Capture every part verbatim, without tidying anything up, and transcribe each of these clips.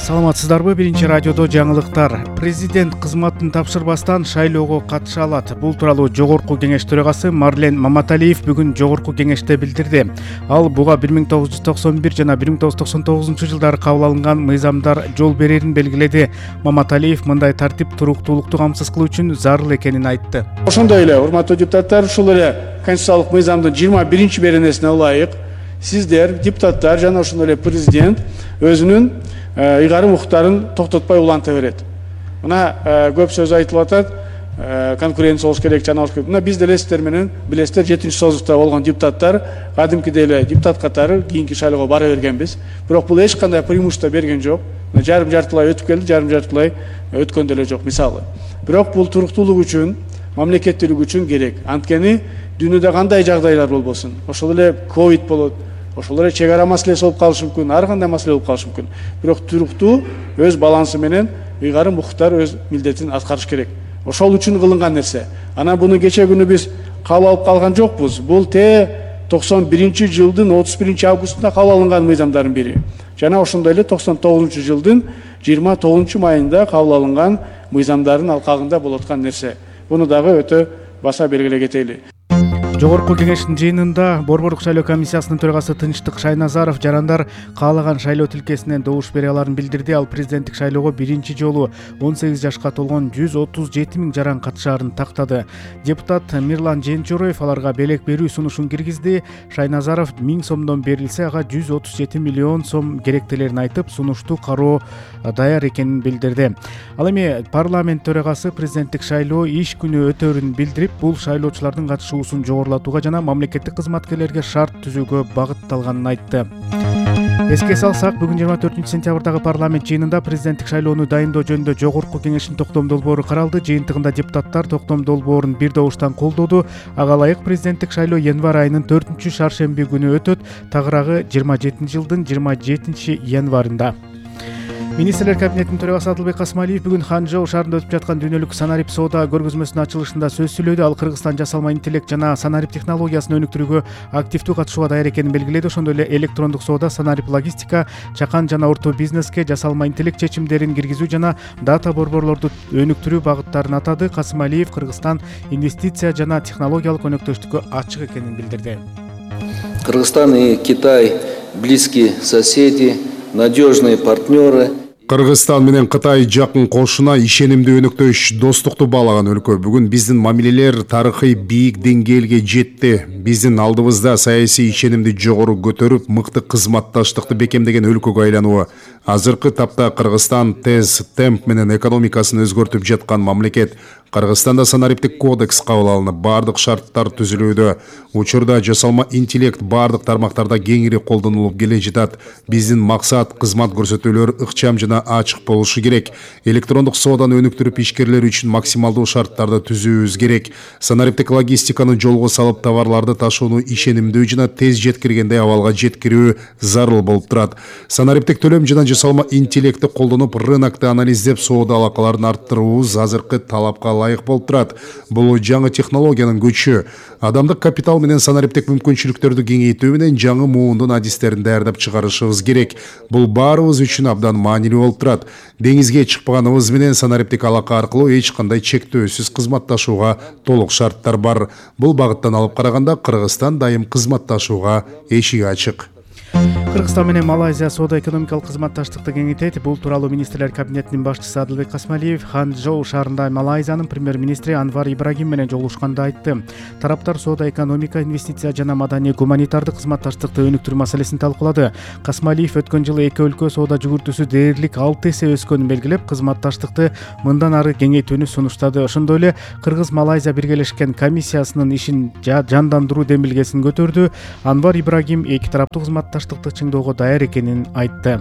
Саламатсыздарбы? Биринчи радиодо жаңылыктар. Президент кызматын тапшырбастан шайлоого катыша алат. Бул тууралуу Жогорку кеңеш төрагасы Марлен Маматалиев бүгүн Жогорку кеңеште билдирди. Ал буга бир миң тогуз жүз токсон бир жана бир миң тогуз жүз токсон тогузунчу жылдары кабыл алынган мыйзамдар жол берерин белгиледи. Маматалиев мындай тартип туруктуулукту камсыз кылуу үчүн зарыл экенин айтты. Ошондой эле, урматтуу депутаттар, ушул эле конституциялык мыйзамдын жыйырма биринчи беренесине ылайык сиздер, депутаттар жана ошондой эле президент өзүнүн ыйгарым укуктарын токтотпой уланта берет. Мына көп сөз айтылып атат, конкуренция болуш керек, жана болуш керек. Мына биз деле сиздер менен билесиздер, жетинчи созукта болгон депутаттар кадимкидей эле депутат катары кийинки шайлоого бара бергенбиз. Бирок бул эч кандай преимущество берген жок. Жарым жартылай өтүп келди, жарым жартылай өткөн деле жок мисалы. Бирок бул туруктуулук үчүн, мамлекеттүүлүк үчүн керек. Анткени дүйнөдө кандай жагдайлар болбосун, ошол эле ковид болот, ошол эле чек ара маселеси болуп калышы мүмкүн, ар кандай маселе болуп калышы мүмкүн. Бирок туруктуу өз балансы менен ыйгарым укуктар өз милдетин аткарыш керек. Ошол үчүн кылынган нерсе. Анан буну кече күнү биз кабыл алып калган жокпуз. Бул те токсон биринчи жылдын отуз биринчи августунда кабыл алынган мыйзамдардын бири. Жана ошондой эле токсон тогузунчу жылдын жыйырма тогузунчу майында кабыл алынган мыйзамдардын алкагында болуп аткан нерсе. Буну дагы өтө баса белгилей кетели. Жогорку кеңештин жыйынында Борбордук шайлоо комиссиясынын төрагасы Тынчтык Шайназаров жарандар каалаган шайлоо тилкесинен добуш бере аларын билдирди. Ал президенттик шайлоого биринчи жолу он сегиз жашка толгон жүз отуз жети миң жаран катышаарын тактады. Депутат Мирлан Женчороев аларга белек берүү сунушун киргизди. Шайназаров миң сомдон берилсе, ага жүз отуз жети миллион сом керектелерин айтып, сунушту кароо даяр экенин билдирди. Ал эми парламент төрагасы президенттик шайлоо иш күнү өтөрүн билдирип, бул шайлоочулардын катышуусун жогорулатууга жана мамлекеттик кызматкерлерге шарт түзүүгө багытталганын айтты. Эске салсак, бүгүн жыйырма төртүнчү сентябрдагы парламент жыйынында президенттик шайлоону дайындоо жөнүндө Жогорку кеңештин токтом долбоору каралды. Жыйынтыгында депутаттар токтом долбоорун бир добуштан колдоду. Ага ылайык президенттик шайлоо январь айынын төртүнчү шаршемби күнү өтөт, тагыраагы жыйырма жетинчи жылдын жыйырма жетинчи январында. Министрлер кабинетинин төрагасы Адылбек Касмалиев бүгүн Ханчжоу шаарында өтүп жаткан дүйнөлүк санарип соода көргөзмөсүнүн ачылышында сөз сүйлөдү. Ал Кыргызстан жасалма интеллект жана санарип технологиясын өнүктүрүүгө активдүү катышууга даяр экенин белгиледи. Ошондой эле электрондук соода, санарип логистика, чакан жана орто бизнеске жасалма интеллект чечимдерин киргизүү жана дата борборлорду өнүктүрүү багыттарын атады. Касмалиев Кыргызстан инвестиция жана технологиялык өнөктөштүккө ачык экенин билдирди. Кыргызстан и Китай близкие соседи, надежные партнеры. Кыргызстан менен Кытай жакын кошуна, ишенимдүү өнөктөш, достукту баалаган өлкө. Бүгүн биздин мамилелер тарыхый бийик деңгээлге жетти. Биздин алдыбызда саясий ишенимди жогору көтөрүп, мыкты кызматташтыкты бекемдеген өлкөгө айлануу. Азыркы тапта Кыргызстан тез темп менен экономикасын өзгөртүп жаткан мамлекет. Кыргызстанда санариптик кодекс кабыл алынып, бардык шарттар түзүлүүдө. Учурда жасалма интеллект бардык тармактарда кеңири колдонулуп келе жатат. Биздин максат кызмат көрсөтүүлөр ыкчам жана ачык болушу керек. Электрондук сооданы өнүктүрүп, ишкерлер үчүн максималдуу шарттарды түзүүбүз керек. Санариптик логистиканы жолго салып, товарларды ташууну ишенимдүү жана тез жеткиргендей абалга жеткирүү зарыл болуп турат. Санариптик төлөм жана жасалма интеллектти колдонуп, рынокты анализдеп, соода алакаларын арттыруубуз азыркы талапка лайык болуп турат. Бул жаңы технологиянын күчү. Адамдык капитал менен санариптик мүмкүнчүлүктөрдү кеңейтүү менен жаңы муундун адистерин даярдап чыгарышыбыз керек. Бул баарыбыз үчүн абдан маанилүү болуп турат. Деңизге чыкпаганыбыз менен санариптик алака аркылуу эч кандай чектөөсүз кызматташууга толук шарттар бар. Бул багыттан алып караганда Кыргызстан дайым кызматташууга эшиги ачык. Кыргызстан менен Малайзия соода-экономикалык кызматташтыкты кеңейтет. Бул тууралуу министрлер кабинетинин башчысы Адылбек Касмалиев Ханчжоу шаарында Малайзиянын премьер-министри Анвар Ибрагим менен жолугушканда айтты. Тараптар соода-экономика, инвестиция жана маданий гуманитардык кызматташтыкты өнүктүрүү маселесин талкуулады. Касмалиев өткөн жылы эки өлкө соода жүгүртүүсү дээрлик алты эсе өскөнүн белгилеп, кызматташтыкты мындан ары кеңейтүүнү сунуштады. Ошондой эле Кыргыз-Малайзия биргелешкен комиссиясынын ишин жандандыруу демилгесин көтөрдү. Анвар Ибрагим эки тараптуу кызматташтыкты чыңдоого даяр экенин айтты.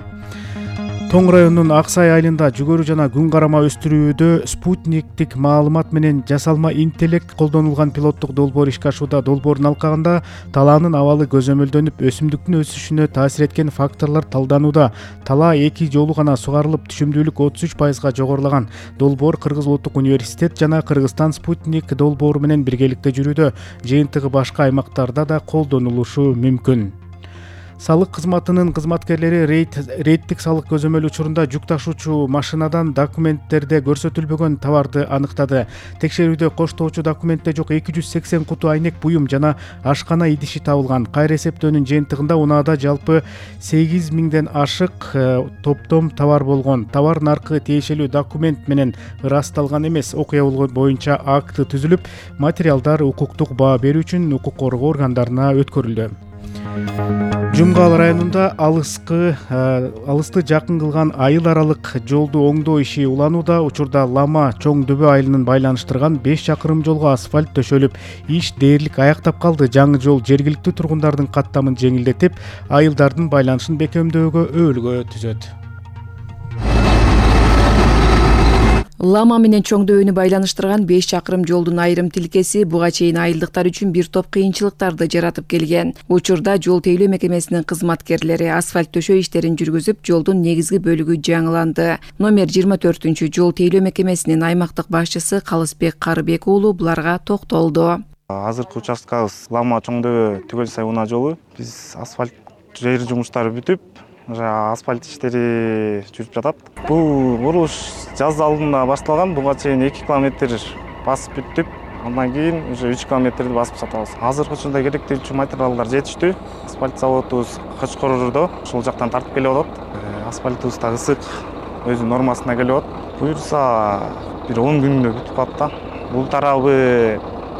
Тоң районунун Ак Сай айылында жүгөрү жана күн карама өстүрүүдө спутниктик маалымат менен жасалма интеллект колдонулган пилоттук долбоор ишке ашууда. Долбоордун алкагында талаанын абалы көзөмөлдөнүп, өсүмдүктүн өсүшүнө таасир эткен факторлор талданууда. Талаа эки жолу гана сугарылып, түшүмдүүлүк отуз үч пайызга жогорулаган. Долбоор Кыргыз Улуттук университет жана Кыргызстан спутник долбоору менен биргеликте жүрүүдө. Жыйынтыгы башка аймактарда да колдонулушу мүмкүн. Салык кызматынын кызматкерлери рейд рейдтик салык көзөмөл учурунда жүк ташуучу машинадан документтерде көрсөтүлбөгөн товарды аныктады. Текшерүүдө коштоочу документте жок эки жүз сексен куту айнек буюм жана ашкана идиши табылган. Кайра эсептөөнүн жыйынтыгында унаада жалпы сегиз миңден ашык топтом товар болгон. Товар наркы тиешелүү документ менен ырасталган эмес. Окуя боюнча акт түзүлүп, материалдар укуктук баа берүү үчүн укук коргоо органдарына өткөрүлдү. Жумгал районунда алыскы алысты жакын кылган айыл аралык жолду оңдоо иши уланууда. Учурда Лама Чоң Дөбө айылынын байланыштырган беш чакырым жолго асфальт төшөлүп, иш дээрлик аяктап калды. Жаңы жол жергиликтүү тургундардын каттамын жеңилдетип, айылдардын байланышын бекемдөөгө өбөлгө түзөт. Лама менен Чоң Дөбөнү байланыштырган беш чакырым жолдун айрым тилкеси буга чейин айылдыктар үчүн бир топ кыйынчылыктарды жаратып келген. Учурда жол тейлөө мекемесинин кызматкерлери асфальт төшөө иштерин жүргүзүп, жолдун негизги бөлүгү жаңыланды. Номер жыйырма төртүнчү жол тейлөө мекемесинин аймактык башчысы Калысбек Карыбек уулу буларга токтолду. Азыркы участкабыз Лама Чоң Дөбө Түгөл Сай унаа жолу. Биз асфальт жер жумуштары бүтүп, асфальт иштери жүрүп жатат. Бул курулуш жаз алдында башталган. Буга чейин эки километр басып бүттүк. Андан кийин уже үч километрди басып сатабыз. Азыркы учурда керектелчү материалдар жетиштүү. Асфальт заводубуз Качкордо ушул жактан тартып келип атат. Асфальтыбыз да ысык, өзүнүн нормасына келип атат. Буюрса бир он күндө бүтүп калат да. Бул тарабы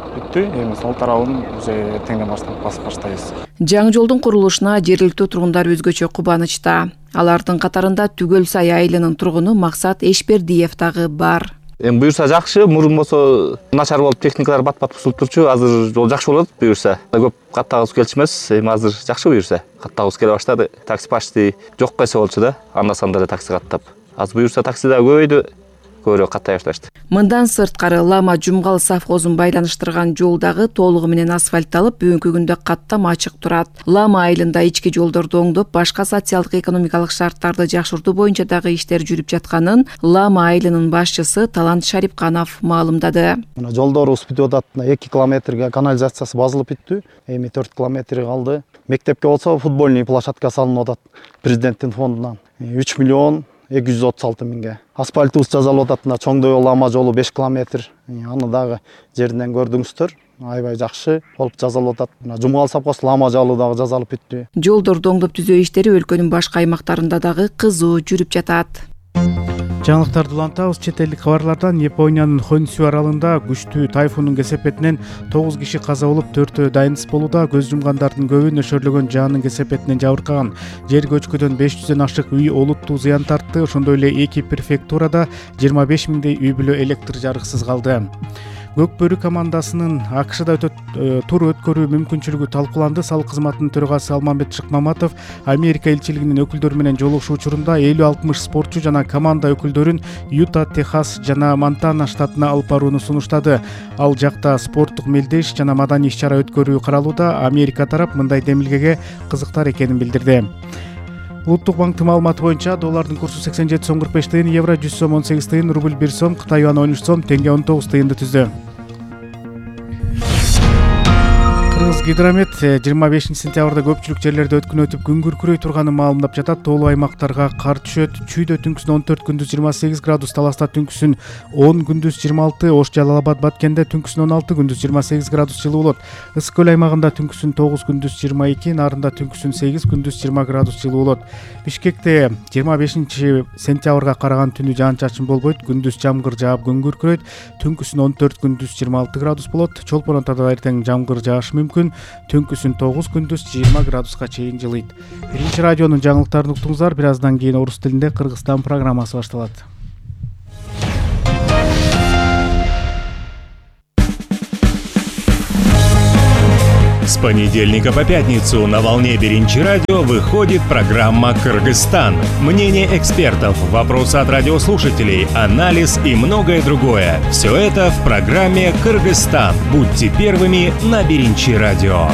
бүттү, эми сол тарабын уже эртеңден баштап басып баштайбыз. Жаңы жолдун курулушуна жергиликтүү тургундар өзгөчө кубанычта. Алардын катарында Түгөл Сай айылынын тургуну Максат Эшбердиев дагы бар. Эми буюрса жакшы, мурун болсо начар болуп техникалар бат-бат бузулуп турчу. Азыр жол жакшы болот буюрса. Көп каттагыбыз келчү эмес, эми азыр жакшы буюрса. Каттагыбыз келе баштады. Такси почти жок кайсы болчу да. Анда-санда такси каттап. Азыр буюрса такси да көбөйдү. Көбүрөөк каттай башташты. Мындан сырткары Лама Жумгал совхозун байланыштырган жол дагы толугу менен асфальтталып, бүгүнкү күндө каттам ачык турат. Лама айылында ички жолдорду оңдоп, башка социалдык экономикалык шарттарды жакшыртуу боюнча дагы иштер жүрүп жатканын Лама айылынын башчысы Талант Шарипканов маалымдады. Мына жолдорубуз бүтүп атат. эки километрге канализациясы базылып бүттү. Эми төрт километр калды. Мектепке болсо футбольный площадка салынып атат президенттин фондунан. үч миллион эки жүз отуз алты миңге. Асфальтыбыз жазалып атат. Чоң Дөбө Лама жолу беш километр. Аны дагы жеринен көрдүңүздөр. Аябай жакшы болуп жазалып атат. Жумгал совхоз Лама жолу дагы жазалып бүттү. Жолдорду оңдоп түзөө иштери өлкөнүн башка аймактарында дагы кызуу жүрүп жатат. Жаңылыктарды улантабыз. Чет элдик кабарлардан Япониянын Хонсю аралында күчтүү тайфундун кесепетинен тогуз киши каза болуп, төртөө дайынсыз болууда. Көз жумгандардын көбү нөшөрлөгөн жаанын кесепетинен жабыркаган. Жер көчкүдөн беш жүздөн ашык үй олуттуу зыян тартты. Ошондой эле эки префектурада жыйырма беш миңдей үй бүлө электр жарыксыз калды. Көк бөрү командасынын АКШда тур өткөрүү мүмкүнчүлүгү талкууланды. Салык кызматынын төрагасы Алмамбет Шыкмаматов Америка элчилигинин өкүлдөрү менен жолугушуу учурунда элүү алтымыш спортчу жана команда өкүлдөрүн Юта, Техас жана Монтана штатына алып барууну сунуштады. Ал жакта спорттук мелдеш жана маданий иш-чара өткөрүү каралууда. Америка тарап мындай демилгеге кызыктар экенин билдирди. Улуттук банктын маалыматы боюнча доллардын курсу сексен жети сом кырк беш тыйын, евро жүз сом он сегиз тыйын, рубль бир сом, Кытай юаны он үч сом, тенге он тогуз тыйынды түздү. Кыргызгидромет жыйырма бешинчи сентябрда көпчүлүк жерлерде өткүн өтүп күн күркүрөй турганын маалымдап жатат. Тоолуу аймактарга кар түшөт. Чүйдө түнкүсүн он төрт, күндүз жыйырма сегиз градус, Таласта түнкүсүн он, күндүз жыйырма алты, Ош, Жалал Абад, Баткенде түнкүсүн он алты, күндүз жыйырма сегиз градус жылуу болот. Ысык көл аймагында түнкүсүн тогуз, күндүз жыйырма эки, Нарында түнкүсүн сегиз, күндүз жыйырма градус жылуу болот. Бишкекте жыйырма бешинчи сентябрга караган түнү жаан-чачын болбойт. Күндүз жамгыр жаап күн күркүрөйт. Түнкүсүн он төрт, күндүз жыйырма алты градус болот. Чолпон Атада эртең жамгыр жаашы мүмкүн. Түнкүсүн тогуз, күндүз жыйырма градуска чейин жылыйт. Биринчи радионун жаңылыктарын уктуңуздар. Бир аздан кийин орус тилинде Кыргызстан программасы башталат. С понедельника по пятницу на волне Биринчи радио выходит программа «Кыргызстан». Мнение экспертов, вопросы от радиослушателей, анализ и многое другое. Все это в программе «Кыргызстан». Будьте первыми на Биринчи радио.